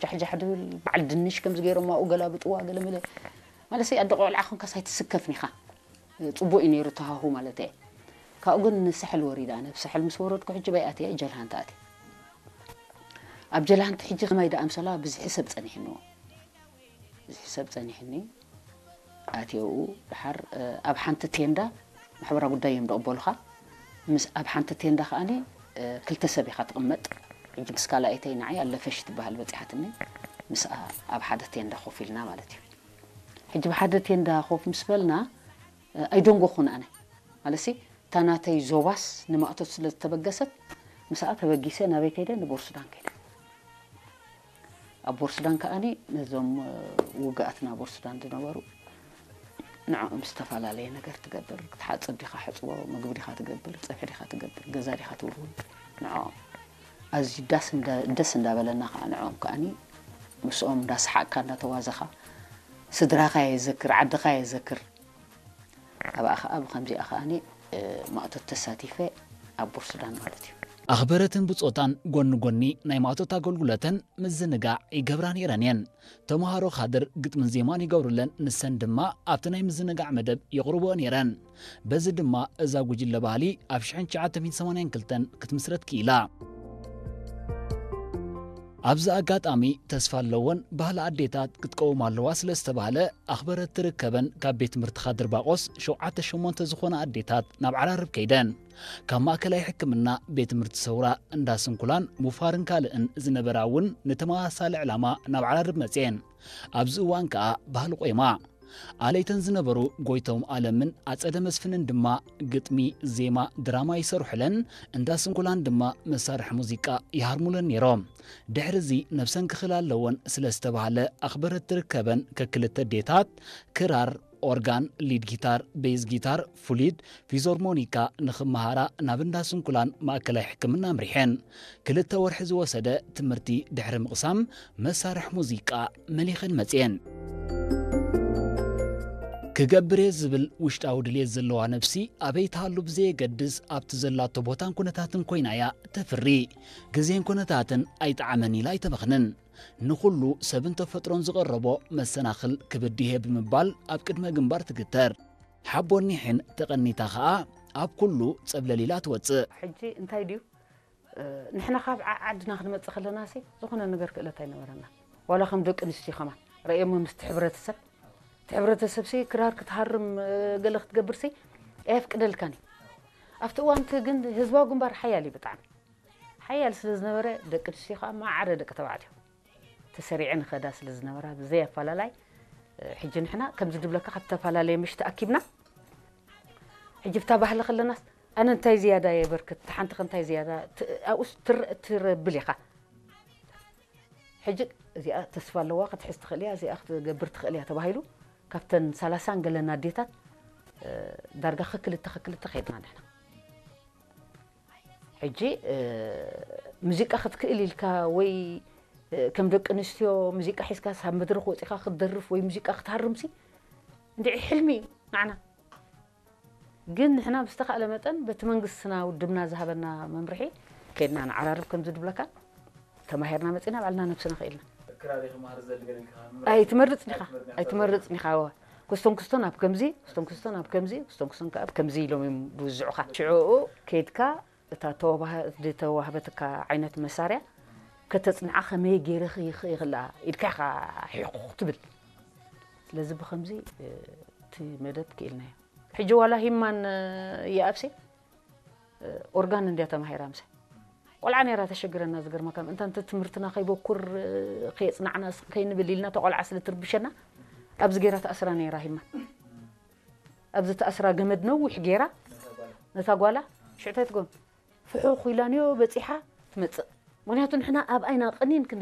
ጃሕጃሕ ድብል በዓል ድንሽ ከምዚ ገይሮም ኣብኡ ገላብጥዋ ገለመለ። ማለት ኣደ ቆልዓ ኮንካስ ኣይትስከፍን ኢኻ። ጽቡቕ እዩ ነይሩ ተሃሁ ማለት እየ። ካብኡ ግን ንሳሕል ወሪዳ። ናብ ሳሕል ምስ ወረድኩ ሕጂ ባይ ኣትየ ጀልሃንት ኣትየ። ኣብ ጀልሃንት ሕጂ ከማይ ደኣ ኣምሰላ ብዝሒ ሰብ ጸኒሕንዎ። ብዝሒ ሰብ ጸኒሕኒ። ኣትየኡ ድሓር ኣብ ሓንቲ ቴንዳ ማሕበራዊ ጉዳይ እዮም ደቕበሉኻ። ምስ ኣብ ሓንቲ ቴንዳ ከኣኒ ክልተ ሰብ ኢኻ ትቕመጥ። ሕጂ ምስ ካልኣይተይ ንዓይ ኣለፈሽ ትበሃል በጺሓትኒ። ምስኣ ኣብ ሓደ ቴንዳ ኮፍ ኢልና ማለት እዩ። ሕጂ ብሓደ ቴንዳ ኮፍ ምስ በልና ኣይደንጎኹን ኣነ። ማለትሲ እታ ናተይ ዞባስ ንማእቶት ስለ ዝተበገሰት ምስኣ ተበጊሰ ናበይ ከይደ? ንቦርሱዳን ከይደ። ኣብ ቦርሱዳን ከኣኒ ነዞም ውግኣትና ቦርሱዳን ዝነበሩ ንዕኦም ዝተፈላለየ ነገር ትገብር። ክትሓጽብ ዲኻ ሕጽቦ፣ ምግቢ ዲኻ ትገብር፣ ጸብሒ ዲኻ ትገብር፣ ገዛ ዲኻ ትውልውል፣ ንዕኦም ኣዝዩ ዳስ እንዳ- ደስ እንዳበለና ከዓ ንዕኦም ከኣኒ ምስኦም እንዳሰሓቅካ እንዳተዋዘኻ ስድራኻ የዘክር፣ ዓድኻ የዘክር። ኣብኣ ከዓ ብኸምዚኣ ከኣኒ ማእቶት ተሳቲፈ ኣብ ቦርሱዳን ማለት እዩ። ኣኽበረትን ብጾታን ጎኒ ጎኒ ናይ ማእቶት ኣገልግሎተን ምዝንጋዕ ይገብራ ነይረን እየን። ተምሃሮ ካድር ግጥምን ዜማን ይገብሩለን፣ ንሰን ድማ ኣብቲ ናይ ምዝንጋዕ መደብ የቕርብኦ ነይረን። በዚ ድማ እዛ ጉጅለ ባህሊ ኣብ ሽሕን ትሽዓተ ሚእትን ሰማንያን ክልተን ክትምስረት ክኢላ። ኣብዚ ኣጋጣሚ ተስፋ ኣለወን ባህሊ ኣዴታት ክትቀውም ኣለዋ ስለ ዝተባህለ ኣኽበረት ትርከበን ካብ ቤት ትምህርቲ ካድር ባቆስ ሸውዓተ ሸሞንተ ዝኾና ኣዴታት ናብ ዓራርብ ከይደን ካብ ማእከላይ ሕክምና ቤት ትምህርቲ ሰውራ እንዳ ስንኩላን ሙፋርን ካልእን ዝነበራ እውን ንተመሳሳሊ ዕላማ ናብ ዓራርብ መፅኤን ኣብዚ እዋን ከዓ ባህሊ ቆይማ ኣለይተን ዝነበሩ ጎይቶም ኣለምን ኣጸደ መስፍንን ድማ ግጥሚ፣ ዜማ፣ ድራማ ይሰርሑለን፣ እንዳ ስንኩላን ድማ መሳርሒ ሙዚቃ ይሃርሙለን ነይሮም። ድሕሪ እዚ ነብሰን ክኽላ ኣለወን ስለ ዝተባህለ ኣኽበረት ትርከበን ከክልተ ዴታት ክራር፣ ኦርጋን፣ ሊድ ጊታር፣ ቤዝ ጊታር፣ ፍሉይድ፣ ፊዞርሞኒካ ንኽመሃራ ናብ እንዳ ስንኩላን ማእከላይ ሕክምና ኣምሪሐን። ክልተ ወርሒ ዝወሰደ ትምህርቲ ድሕሪ ምቕሳም መሳርሒ ሙዚቃ መሊኸን መፅየን። ክገብር እየ ዝብል ውሽጣዊ ድልየት ዘለዋ ነብሲ ኣበይ ትሃሉ ብዘየገድስ ኣብቲ ዘላቶ ቦታን ኩነታትን ኮይና እያ ተፍሪ። ግዜን ኩነታትን ኣይጠዓመን ኢላ ኣይተበኽንን። ንኹሉ ሰብን ተፈጥሮን ዝቐረቦ መሰናኽል ክብድሄ ብምባል ኣብ ቅድመ ግንባር ትግተር። ሓቦን ኒሕን ተቐኒታ ኸኣ ኣብ ኩሉ ጸብለል ኢላ ትወጽእ። ሕጂ እንታይ ድዩ ንሕና ካብ ዓዓድና ክንመጽእ ከለና ሲ ዝኾነ ነገር ክእለት ኣይነበረና። ዋላ ከም ደቂ ኣንስትዮ ከማን ረእየሞ ምስቲ ሕብረተሰብ እቲ ሕብረተሰብ ሲ ክራር ክትሃርም ገለ ክትገብር ሲ ኣየፍቅደልካን እዩ። ኣብቲ እዋንቲ ግን ህዝባዊ ግንባር ሓያል እዩ ብጣዕሚ ሓያል ስለ ዝነበረ ደቂ ኣንስትዮ ከዓ ማዕረ ደቂ ተባዕትዮ ተሰሪዐ ንኸዳ ስለ ዝነበራ ብዘይ ኣፈላላይ ሕጂ ንሕና ከምዚ ድብለካ ካብ ዝተፈላለየ ምሽ ተኣኪብና ሕጂ ብታ ባህሊ ከለናስ ኣነ እንታይ ዝያዳ የበርክት ሓንቲ ከ እንታይ ዝያዳ ኣብኡስ ትረብል ኢኻ ሕጂ እዚኣ ተስፋ ኣለዋ ክትሕዝ ትኽእል እያ እዚኣ ክትገብር ትኽእል እያ ተባሂሉ ካብተን ሰላሳን ገለን ኣዴታት ዳርጋ ክክልተ ክክልተ ከይድና ንሕና ሕጂ ሙዚቃ ክትክእል ኢልካ ወይ ከም ደቂ ኣንስትዮ ሙዚቃ ሒዝካ ሳብ መድረኽ ወፂኻ ክትደርፍ ወይ ሙዚቃ ክትሃርምሲ እንድዒ ሕልሚ እዩ ንዓና ግን ንሕና ብዝተኻእለ መጠን በቲ መንግስትና ውድብና ዝሃበና መምርሒ ከድና ንዓራርብ ከምዚ ድብለካ ተማሂርና መፂና ባዕልና ነብስና ክኢልና ኣይትመርፅን ኢኻ ኣይትመርፅን ኢኻ ወ ክስቶን ክስቶን ኣብ ከምዚ ክስቶን ክስቶን ኣብ ከምዚ ክስቶን ክስቶን ኣብ ከምዚ ኢሎም እዮም ዝውዝዑኻ ሽዕኡ ከይድካ እታ ዝተዋህበትካ ዓይነት መሳርያ ከተፅንዓ ከመይ ገይረ ይኽእላ ኢድካ ኢኻ ሒቑ ትብል ስለዚ ብከምዚ እቲ መደብ ክኢልናዮ ሕጂ ዋላ ሂማን ይኣብሲ ኦርጋን እንድያ ተማሂራ ምሰ ቆልዓ ነይራ ተሸግረና ዝገርመካ ምእንታ እንተ ትምህርትና ከይበኩር ከየፅናዕና ከይንብል ኢልና ተቆልዓ ስለ ትርብሸና ኣብዚ ገይራ ተኣስራ ነይራ ሂማ ኣብዚ ተኣስራ ገመድ ነዊሕ ገይራ ነታ ጓላ ሽዕታይ ትጎም ፍሑ ኩኢላንዮ በፂሓ ትመፅእ ምክንያቱ ንሕና ኣብ ኣይና ቅኒን ክንብል